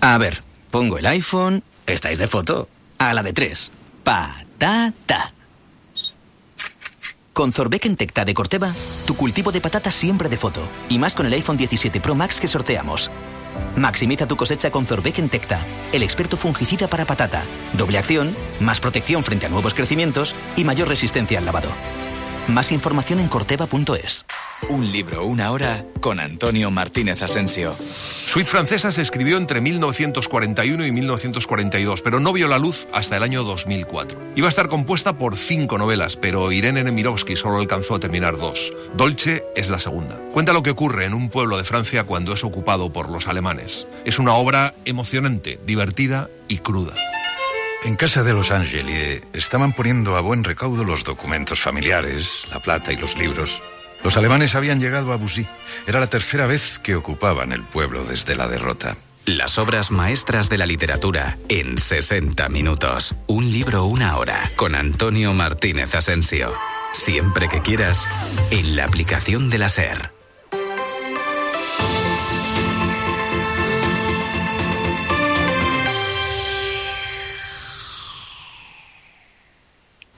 A ver, pongo el iPhone, estáis de foto, a la de 3. Patata. Con Zorbeck Tecta de Corteva, tu cultivo de patata siempre de foto. Y más con el iPhone 17 Pro Max que sorteamos. Maximiza tu cosecha con Zorbeck Tecta, el experto fungicida para patata. Doble acción, más protección frente a nuevos crecimientos y mayor resistencia al lavado. Más información en corteva.es. Un libro, una hora, con Antonio Martínez Asensio. Suite Francesa se escribió entre 1941 y 1942, pero no vio la luz hasta el año 2004. Iba a estar compuesta por 5 novelas, pero Irene Nemirovsky solo alcanzó a terminar 2. Dolce es la segunda. Cuenta lo que ocurre en un pueblo de Francia cuando es ocupado por los alemanes. Es una obra emocionante, divertida y cruda. En casa de los Angeli estaban poniendo a buen recaudo los documentos familiares, la plata y los libros. Los alemanes habían llegado a Bussy. Era la tercera vez que ocupaban el pueblo desde la derrota. Las obras maestras de la literatura en 60 minutos. Un libro, una hora, con Antonio Martínez Asensio. Siempre que quieras, en la aplicación de la SER.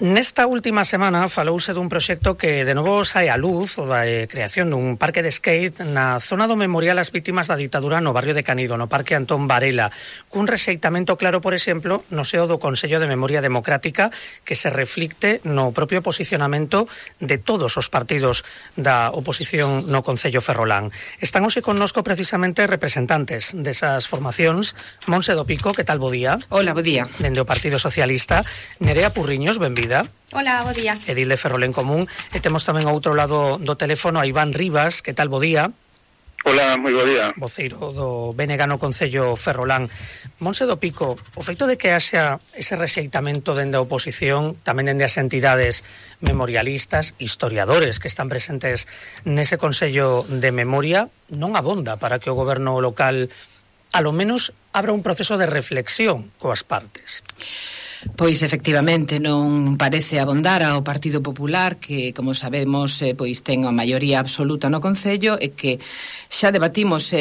Nesta última semana falouse dun proxecto que de novo sae á luz, o da creación dun parque de skate na zona do memorial ás vítimas da ditadura no barrio de Canido, no Parque Antón Varela, cun rexeitamento claro, por exemplo, no seo do Consello de Memoria Democrática, que se reflicte no propio posicionamento de todos os partidos da oposición no Concello Ferrolán. Están hoxe connosco precisamente representantes desas formacións. Monse do Pico, que tal, bo día? Hola, bo día. Dende o Partido Socialista. Nerea Purriños, benvida. Hola, bo día. Edil de Ferrol en Común. E temos tamén ao outro lado do teléfono a Iván Rivas, que tal, bo día? Hola, moi bo día. Voceiro do BNG no Concello Ferrolán. Monse do Pico, o feito de que haxa ese rexeitamento dende a oposición, tamén dende as entidades memorialistas, historiadores que están presentes nese Consello de Memoria, non abonda para que o goberno local, a lo menos, abra un proceso de reflexión coas partes. Pois efectivamente non parece abondar ao Partido Popular, que como sabemos pois ten a maioría absoluta no Concello, e que xa debatimos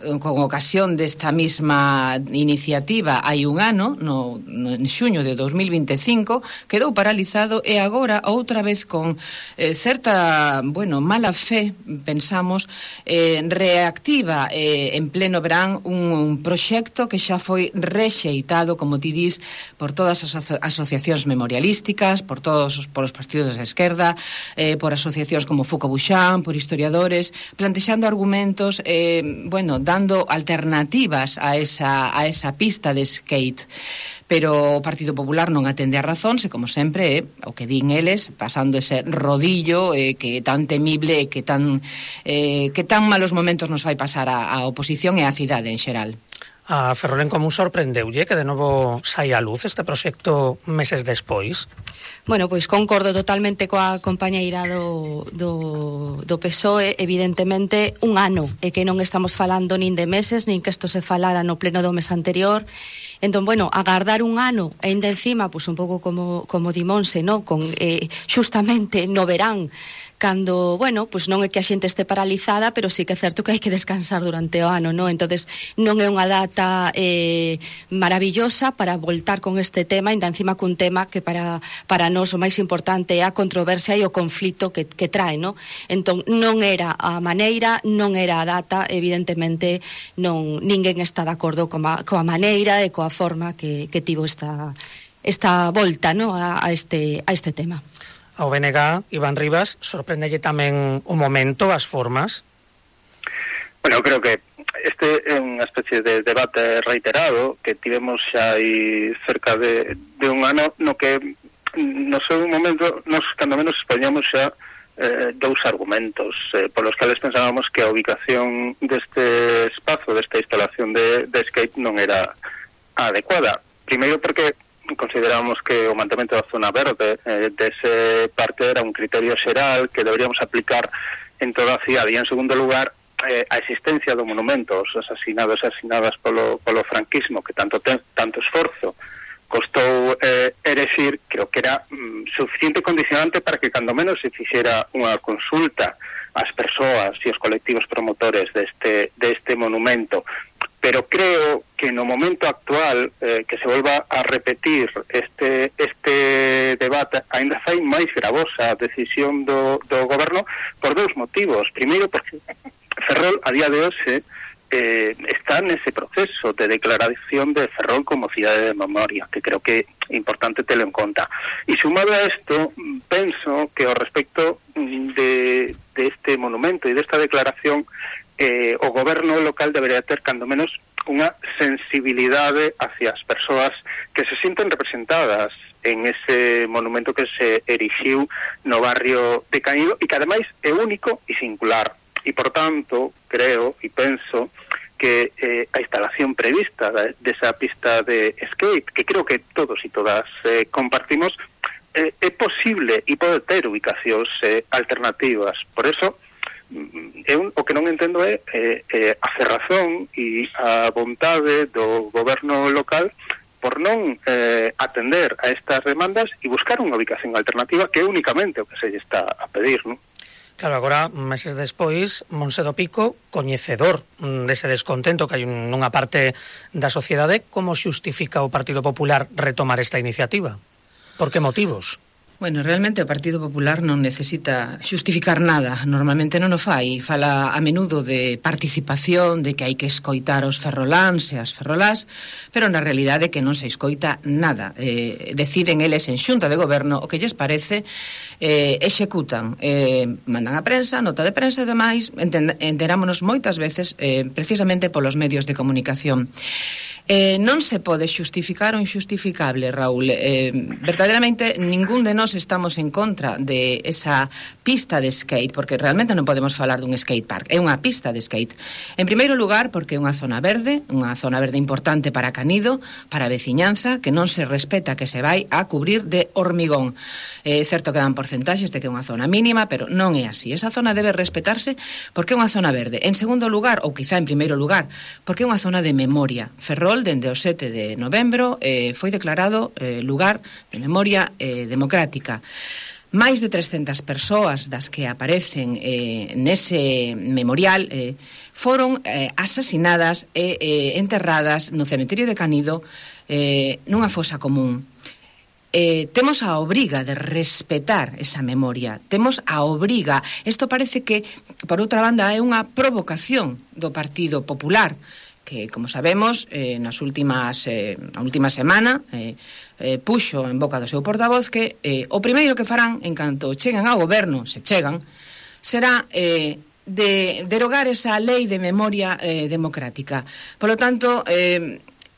con ocasión desta mesma iniciativa hai un ano, en xuño de 2025, quedou paralizado, e agora outra vez con certa, mala fe, pensamos, reactiva en pleno verán un proxecto que xa foi rexeitado, como ti dis, por todas as asociacións memorialísticas, por os partidos de esquerda, por asociacións como Foucault Buchan, por historiadores, plantexando argumentos, dando alternativas a esa pista de skate. Pero o Partido Popular non atende a razón, e como sempre, o que din eles, pasando ese rodillo que é tan temible e que tan malos momentos nos vai pasar a oposición e a cidade en xeral. A Ferrol en Común sorprendeulle que de novo saia a luz este proxecto meses despois? Bueno, pois concordo totalmente coa compañeira do PSOE. Evidentemente un ano, e que non estamos falando nin de meses, nin que isto se falara no pleno do mes anterior. Entón, agardar un ano e ainda encima, pois un pouco como di Monse, no? Con xustamente no verán, cando, pois non é que a xente este paralizada, pero sí que é certo que hai que descansar durante o ano, non? Entonces, non é unha data maravillosa para voltar con este tema, ainda encima cun tema que para nós o máis importante é a controversia e o conflito que trae, non? Entón, non era a maneira, non era a data, evidentemente ninguén está de acordo coa maneira e coa forma que tivo esta volta, non? a este tema. Ao BNG, Iván Rivas, sorprendelle tamén o momento, as formas? Bueno, creo que este é unha especie de debate reiterado que tivemos xa aí cerca de un ano, no que no seu momento nos cando menos expoñamos xa dous argumentos polos cales pensábamos que a ubicación deste espazo, desta instalación de skate non era adecuada. Primeiro porque consideramos que o mantemento da zona verde dese parque era un criterio xeral que deberíamos aplicar en toda a cidade, e en segundo lugar a existencia do monumento aos asasinados e asasinadas polo franquismo, que tanto esforzo costou erexir, creo que era suficiente condicionante para que cando menos se fixera unha consulta ás persoas e aos colectivos promotores deste monumento. pero creo que no momento actual que se volva a repetir este debate ainda fai máis gravosa a decisión do goberno por dous motivos. Primeiro, porque Ferrol a día de hoxe está nese proceso de declaración de Ferrol como cidade de memoria, que creo que é importante telo en conta. E sumado a isto, penso que ao respecto de este monumento e desta declaración, o goberno local debería ter cando menos unha sensibilidade hacia as persoas que se sinten representadas en ese monumento que se erixiu no barrio de Canido e que ademais é único e singular. E por tanto, creo e penso que a instalación prevista desa pista de skate, que creo que todos e todas compartimos, é posible e pode ter ubicacións alternativas. Por eso, o que non entendo é a cerrazón e a vontade do goberno local por non atender a estas demandas e buscar unha ubicación alternativa, que é únicamente o que se lle está a pedir, non? Claro, agora, meses despois, Monse do Pico, coñecedor dese descontento que hai nunha parte da sociedade, como xustifica o Partido Popular retomar esta iniciativa? Por que motivos? Bueno, realmente o Partido Popular non necesita xustificar nada, normalmente non o fai, fala a menudo de participación, de que hai que escoitar os ferroláns e as ferrolás, pero na realidade que non se escoita nada. Deciden eles en xunta de goberno o que lles parece, executan, mandan a prensa, nota de prensa e demais, enterámonos moitas veces precisamente polos medios de comunicación. Non se pode xustificar o injustificable, Raúl. Verdadeiramente ningún de nós estamos en contra de esa pista de skate, porque realmente non podemos falar dun skate park, é unha pista de skate. En primeiro lugar, porque é unha zona verde importante para Canido, para a veciñanza, que non se respeta, que se vai a cubrir de hormigón. É certo que dan porcentaxes de que é unha zona mínima, pero non é así. Esa zona debe respetarse porque é unha zona verde. En segundo lugar, ou quizá en primeiro lugar, porque é unha zona de memoria. Ferrol, dende o 7 de novembro, foi declarado lugar de memoria democrática. Máis de 300 persoas das que aparecen nese memorial foron asasinadas e enterradas no cemiterio de Canido nunha fosa común. Temos a obriga de respetar esa memoria, temos a obriga. Isto parece que, por outra banda, é unha provocación do Partido Popular, que, como sabemos, na última semana puxo en boca do seu portavoz que o primeiro que farán en canto cheguen ao goberno, se chegan, será de derogar esa lei de memoria democrática. Polo tanto,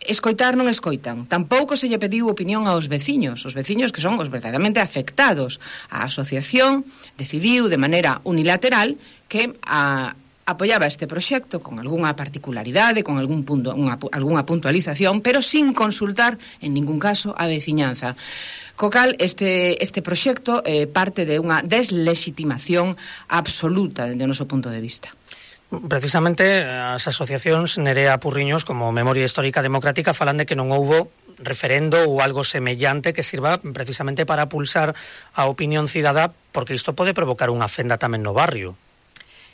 escoitar non escoitan. Tampouco se lle pediu opinión aos veciños que son os verdadeiramente afectados. A asociación decidiu de maneira unilateral que apoiaba este proxecto con algunha particularidade, con algunha puntualización, pero sin consultar en ningún caso a veciñanza. Co cal, este proxecto parte de unha deslegitimación absoluta dende o noso punto de vista. Precisamente as asociacións Nerea Purriños como Memoria Histórica Democrática falan de que non houbo referendo ou algo semellante que sirva precisamente para pulsar a opinión cidadá, porque isto pode provocar unha fenda tamén no barrio.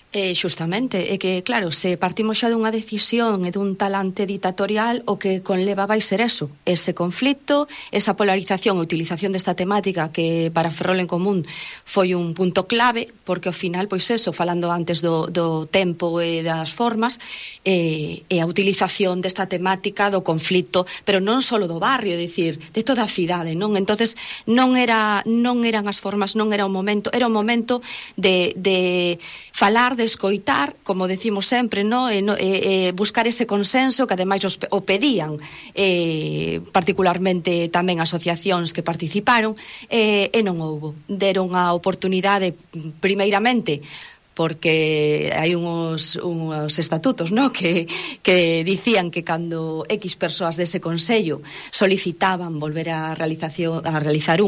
Xustamente, é que, claro, se partimos xa dunha decisión e dun talante ditatorial, o que conleva vai ser eso, ese conflito, esa polarización, a utilización desta temática que para Ferrol en Común foi un punto clave, porque ao final, pois eso, falando antes do tempo e das formas, e a utilización desta temática do conflito, pero non só do barrio, é dicir, de toda a cidade, non? Entonces non eran as formas, non era o momento, era o momento de falar, de escoitar, como decimos sempre, no? Buscar ese consenso que ademais o pedían particularmente tamén asociacións que participaron, e non houbo. Deron a oportunidade primeiramente porque hai uns estatutos, no, que dicían que cando X persoas dese Consello solicitaban volver a realizar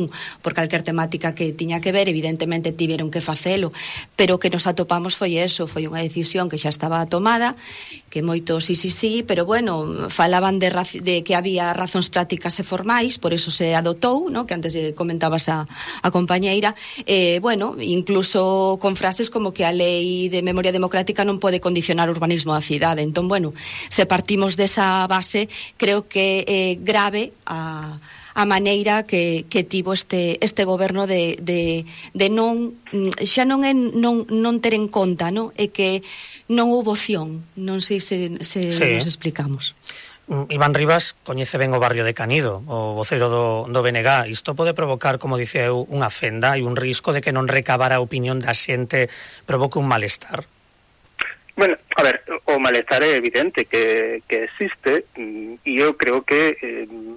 por calquer temática que tiña que ver, evidentemente tiveron que facelo, pero que nos atopamos foi eso, foi unha decisión que xa estaba tomada, que moito sí, pero bueno, falaban de que había razóns prácticas e formais, por eso se adotou, no, que antes comentabas a compañeira, bueno, incluso con frases como que a lei de memoria democrática non pode condicionar o urbanismo da cidade. Entón, bueno, se partimos desa base, creo que é grave a maneira que tivo este goberno de non, xa non é non ter en conta, non? É que non houbo opción. Non sei se nos explicamos. Iván Rivas coñece ben o barrio de Canido, o voceiro do BNG. Isto pode provocar, como dice eu, unha fenda e un risco de que non recabar a opinión da xente provoque un malestar. Bueno, a ver, o malestar é evidente que existe e eu creo que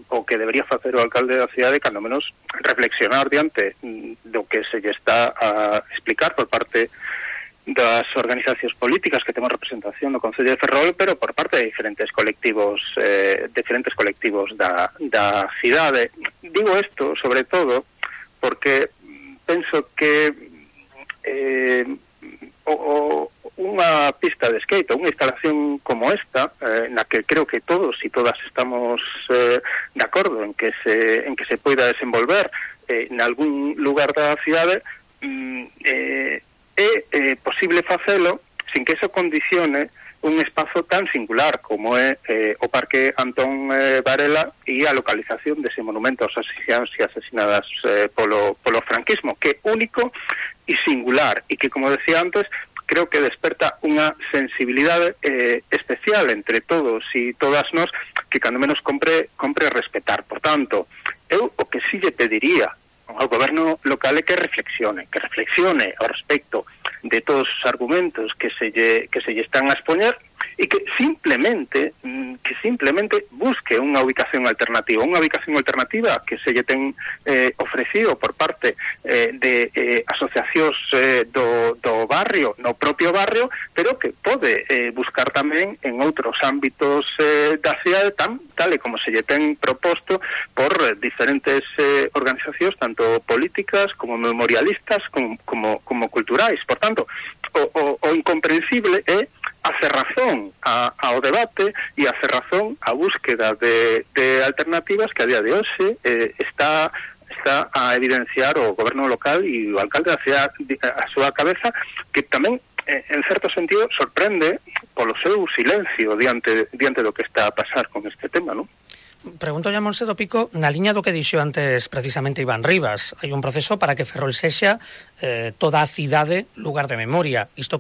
o que debería facer o alcalde da cidade cando menos reflexionar diante do que se lle está a explicar por parte das organizacións políticas que temos representación no Concello de Ferrol, pero por parte de diferentes colectivos da cidade. Digo isto, sobre todo, porque penso que unha pista de skate, unha instalación como esta, na que creo que todos e todas estamos de acordo en que se poida desenvolver en algún lugar da cidade, é posible facelo sin que eso condicione un espazo tan singular como é o Parque Antón Varela e a localización dese monumento aos asasinados e asesinadas polo franquismo, que é único e singular e que, como decía antes, creo que desperta unha sensibilidade especial entre todos e todas nós que cando menos compre respetar. Por tanto, eu o que sí lle pediría ao goberno local é que reflexione ao respecto de todos os argumentos que se lle están a expoñer e que simplemente busque unha ubicación alternativa que se lle ten ofrecido por parte de asociacións do barrio, no propio barrio, pero que pode buscar tamén en outros ámbitos da cidade, tal e como se lle ten proposto por diferentes organizacións, tanto políticas como memorialistas como culturais. Por tanto, o incomprensible é a cerrazón ao debate e a cerrazón á búsqueda de alternativas que a día de hoxe está a evidenciar o goberno local e o alcalde da cidade a súa cabeza, que tamén en certo sentido sorprende polo seu silencio diante do que está a pasar con este tema, non? Pregunto a Monse do Pico, na liña do que dixo antes precisamente Iván Rivas, hai un proceso para que Ferrol sexa toda a cidade lugar de memoria. Isto